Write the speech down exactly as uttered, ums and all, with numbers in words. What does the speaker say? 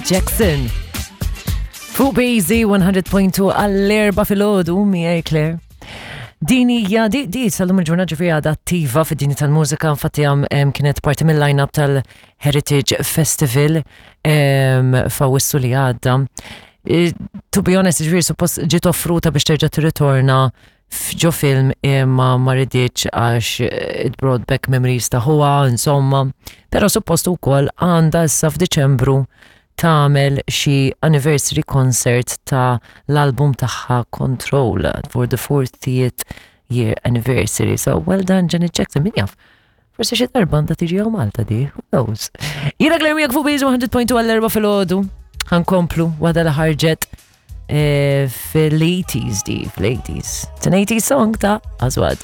Jackson. Fuq B Z one hundred point two għall-erbgħa filgħodu miegħi Claire. Din hija di, di sal-lum il-ġurnata, ġifieri għadha attiva fid-dinja tal-mużika, infatti għam em, kienet parti mill-line-up tal-Heritage Festival em, f'Awwissu li għadda. Eh, To be honest, ġifieri suppost ġiet offruta biex terġa' tirritorna f'ġo film imma ma riditx għax eh, it brought back memories ta' ħuha, insomma. Però suppost ukoll għandha issa f'Diċembru tagħmel xi anniversary concert ta' l-album tagħha Control for the fortieth year anniversary. So well done, Janet Jackson, min jaf. Forsi xi darba għandha tiġi hawn Malta di, who knows. Jiena Claire miegħek fuq B Z one hundred point two għall-erbgħa filgħodu. Ħa nkomplu waħda li ħarġet eh, fil-eighties di, fil-eighties. It's an eighties song ta' Azwad.